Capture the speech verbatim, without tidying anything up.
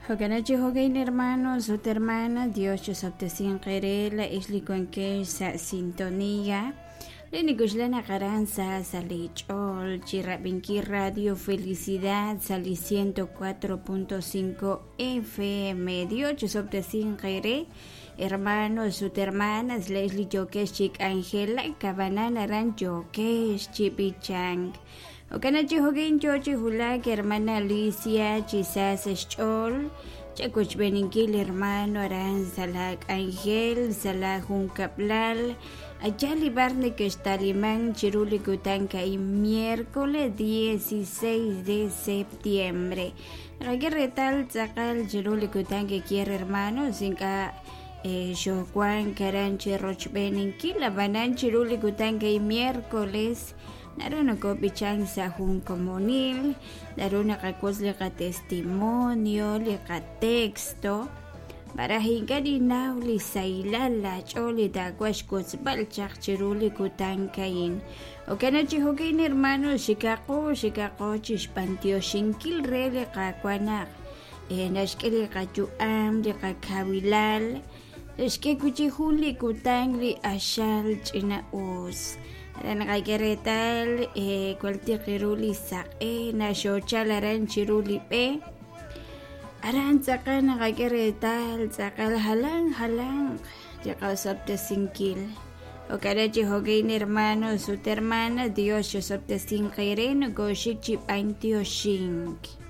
Jo'kan chi jo'kan hermanos ut hermanas, Dios chosob'tesinq eere laa'ex li wankex sa' sintonía li nikuxla naq aran sa sa' li ch'ool chi rab'inkil Radio Felicidad sa' li ciento cuatro punto cinco F M. Dios chosob'tesinq eere, hermanos ut hermanas, laa'ex li yookex chi k'anjelak ab'anan aran yookex chi b'ichank. Jo'kan chi jo'kan yoo chi wulak hermana Alicia chi sa sa' xch'ool chawochb'eninkil, hermano, aran sa' la k'anjel, sa' la junkab'lal allá li bar nekextaliman chiru li kutan a'in, miércoles dieciséis de septiembre. Naqak'e reetal tz'aqal chiru li kutan kikier, hermanos, ink'a' xoowank aran chi rochb'eninkil, ab'anan chiru li kutan a'in, miércoles, naru nokob'ichank sa' jun komonil, naru naqawotz li qatestimonio, li qatexto maraj ink'a' ninnaw li sahilal laach'ool li taawaj xwotzb'al chaq chiru li kutan a'in. Jo'kan chi jo'kan, hermano, xikaqo xikaqo chi xb'antioxinkil re li Qaawa' naq naxk'e li qayu'am, li qakawilal, naxk'e wi' chik jun li kutan li q'axal ch'ina-us. Aran naqak'e reetal kualtiq ru li saq'e naxoochal aran chiru li b'e, aran tz'aqal naqak'e reetal tz'aqal jalan jalanq li qasob'tesinkil. Jo'kan chi jo'kan, hermanos ut hermanas, Dios chosob'tesinq eere, nokoxik chi b'antioxink.